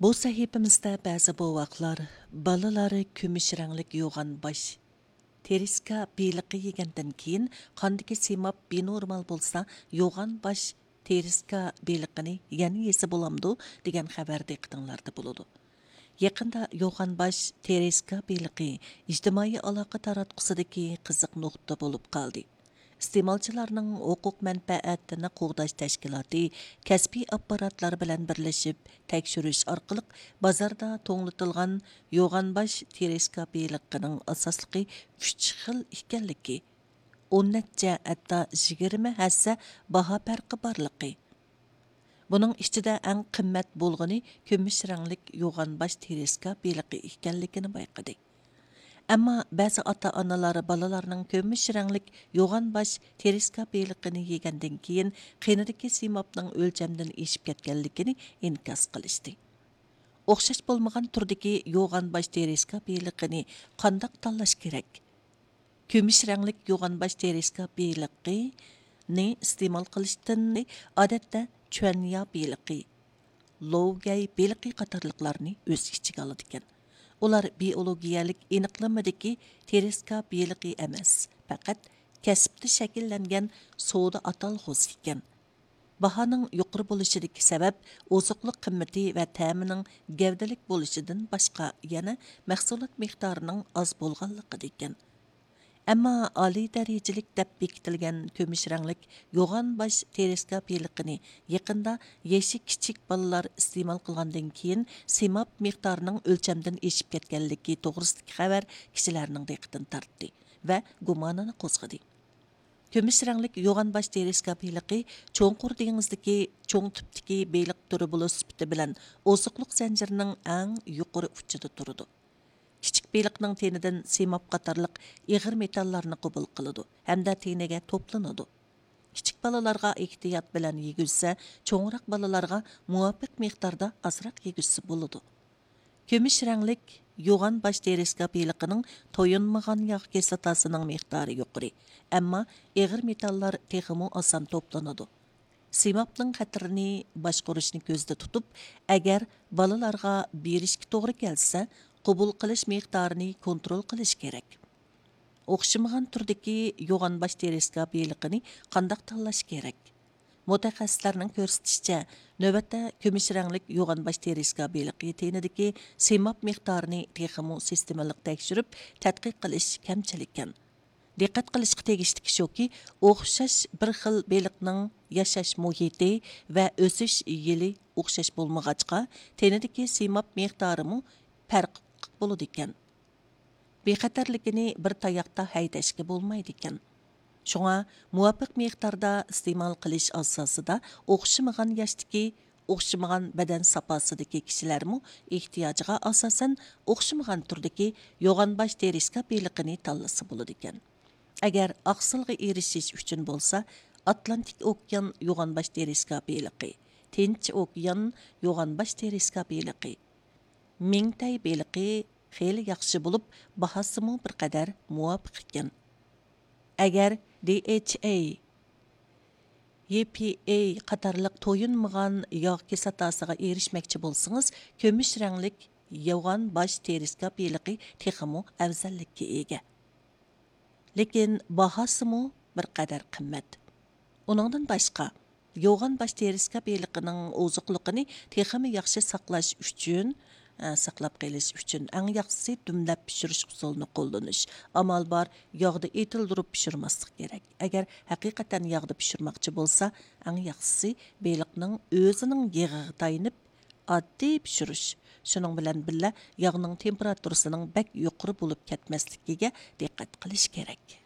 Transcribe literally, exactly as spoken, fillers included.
بۇ سەھىپىمىزدە بەزى بوۋاقلار، بالىلار كۈمۈش رەڭلىك يوغان باش تېرىسكا بېلىقى يېگەندىن كېيىن، قاندىكى سىماب بىنورمال بولسا، يوغان باش تېرىسكا بېلىقىنى يەنە يېسە بولامدۇ؟ دېگەن خەۋەر دىققىتىڭلاردا بولىدۇ. يېقىندا يوغان باش تېرىسكا بېلىقى ئىجتىمائىي ئالاقە تاراتقۇسىدىكى قىزىق نۇقتا بولۇپ قالدى. ئىستېمالچىلارنىڭ ھوقۇق مەنپەئەتىنى قوغداش تەشكىلاتى كەسپىي ئاپپاراتلار بىلەن بىرلىشىپ تەكشۈرۈش ئارقىلىق، بازاردا توڭلىتىلغان يوغان باش تېرىسكا بېلىقىنىڭ ئاساسلىقى ئۈچ خىل ئىكەنلىكى، ئون نەچچە، ھەتتا يىگىرمە ھەسسە باھا پەرقى بارلىقى، بۇنىڭ ئىچىدە ئەڭ قىممەت بولغىنى كۈمۈش رەڭلىك يوغان باش تېرىسكا بېلىقى ئىكەنلىكىنى بايقىدى. ئەمما بەزى ئاتا-ئانىلار بالىلارنىڭ كۈمۈش رەڭلىك يوغان باش تېرىسكا بېلىقىنى يېگەندىن كېيىن، قېنىدىكى سىمابنىڭ ئۆلچەمدىن ئېشىپ كەتكەنلىكىنى ئىنكاس قىلىشتى. ئوخشاش بولمىغان تۈردىكى يوغان باش تېرىسكا بېلىقىنى قانداق تاللاش كېرەك؟ كۈمۈش رەڭلىك يوغان باش تېرىسكا بېلىقىنى ئىستېمال قىلىشتىن ئادەتتە چۈەنيا بېلىقى، لوۋگەي بېلىقى قاتارلىقلارنى ئۆز ئىچىگە ئالىدىكەن. ئۇلار بىئولوگىيەلىك ئېنىقلىمىدىكى تېرىسكا بېلىقى ئەمەس، پەقەت كەسىپتە شەكىللەنگەن سودا ئاتالغۇسى ئىكەن. باھانىڭ يۇقىرى بولۇشىدىكى سەۋەب ئوزۇقلۇق قىممىتى ۋە تەمىنىڭ گەۋدىلىك بولۇشىدىن باشقا، يەنە مەھسۇلات مىقدارىنىڭ ئاز بولغانلىقىدا ئىكەن. ئەمما ئالىي دەرىجىلىك دەپ بېكىتىلگەن كۈمۈش رەڭلىك يوغان باش تېرىسكا بېلىقىنى يېقىندا يېشى كىچىك بالىلار ئىستېمال قىلغاندىن كېيىن، سىماب مىقدارىنىڭ ئۆلچەمدىن ئېشىپ كەتكەنلىكى توغرىسىدىكى خەۋەر كىشىلەرنىڭ دىققىتىنى تارتتى ۋە گۇمانىنى قوزغىدى. كۈمۈش رەڭلىك يوغان باش تېرىسكا بېلىقى چوڭقۇر دېڭىزدىكى چوڭ تىپتىكى بېلىق تۈرى بولۇش سۈپىتى بىلەن ئوزۇقلۇق زەنجىرىنىڭ ئەڭ يۇقىرى ئۇچىدا تۇرىدۇ. كىچىك بېلىقنىڭ تېنىدىن سىماب قاتارلىق ئېغىر مېتاللارنى قوبۇل قىلىدۇ ھەمدە تېنىگە توپلىنىدۇ. كىچىك بالىلارغا ئېھتىيات بىلەن يېگۈزسە، چوڭراق بالىلارغا مۇۋاپىق مىقداردا ئازراق يېگۈزسە بولىدۇ. كۈمۈش رەڭلىك يوغان باش تېرىسكا بېلىقىنىڭ تويۇنمىغان ياغ كىسلاتاسىنىڭ مىقدارى يۇقىرى، ئەمما ئېغىر مېتاللار تېخىمۇ ئاسان توپلىنىدۇ. سىمابنىڭ خەتىرىنى باشقۇرۇشنى كۆزدە تۇتۇپ، ئەگەر بالىلارغا بېرىشكە توغرا كەلسە، قوبۇل قىلىش مىقدارىنى كونترول قىلىش كېرەك. ئوخشىمىغان تۈردىكى يوغان باش تېرىسكا بېلىقىنى قانداق تاللاش كېرەك؟ مۇتەخەسسىسلەرنىڭ كۆرسىتىشىچە، نۆۋەتتە كۈمۈش رەڭلىك يوغان باش تېرىسكا بېلىقى تېنىدىكى سىماب مىقدارىنى تېخىمۇ سىستېمىلىق تەكشۈرۈپ تەتقىق قىلىش كەمچىلىككەن. دىققەت قىلىشقا تېگىشلىكى شۇكى، ئوخشاش بىر خىل بېلىقنىڭ ياشاش مۇھىتى ۋە ئۆسۈش يىلى ئوخشاش بولمىغاچقا، تېنىدىكى سىماب مىقدارىمۇ پەرقلىق بولىدىكەن. بىخەتەرلىكىنى بىر تاياقتا ھەيدەشكە بولمايدىكەن. شۇڭا مۇۋاپىق مىقداردا ئىستېمال قىلىش ئاساسىدا ئوخشىمىغان ياشتىكى، ئوخشىمىغان بەدەن ساپاسىدىكى كىشىلەرمۇ ئېھتىياجىغا ئاساسەن ئوخشىمىغان تۈردىكى يوغان باش تېرىسكا بېلىقىنى تاللىسا بولىدىكەن. ئەگەر ئاقسىلغا ئېرىشىش ئۈچۈن بولسا، ئاتلانتىك ئوكيان يوغان باش تېرىسكا بېلىقى، تىنچ ئوكيان يوغان باش تېرىسكا بېلىقى، مىڭتەي بېلىقى خېلى ياخشى بولۇپ، باھاسىمۇ بىر قەدەر مۇۋاپىق ئىكەن. ئەگەر دى ئېيچ ئەي، يى پى ئەي قاتارلىق تويۇنمىغان ياغ كىسلاتاسىغا ئېرىشمەكچى بولسىڭىز، كۈمۈش رەڭلىك يوغان باش تېرىسكا بېلىقى تېخىمۇ ئەۋزەللىككە ئىگە. لېكىن باھاسىمۇ بىر قەدەر قىممەت. ئۇنىڭدىن باشقا، يوغان باش تېرىسكا بېلىقىنىڭ ئوزۇقلۇقىنى تېخىمۇ ياخشى ساقلاش ئۈچۈن، ئە، ساقلاپ قېلىش ئۈچۈن ئەڭ ياخشىسى دۈملەپ پىشۇرۇش ئۇسۇلىنى قوللىنىش. ئامال بار، ياغدا ئېتىلدۈرۈپ پىشۇرماسلىق كېرەك. ئەگەر ھەقىقەتەن ياغدا پىشۇرماقچى بولسا، ئەڭ ياخشىسى بېلىقنىڭ ئۆزىنىڭ يېغىغا تايىنىپ، ئاددىي پىشۇرۇش. شۇنىڭ بىلەن بىللە، ياغنىڭ تېمپېراتۇرىسىنىڭ بەك يۇقىرى بولۇپ كەتمەسلىكىگە دىققەت قىلىش كېرەك.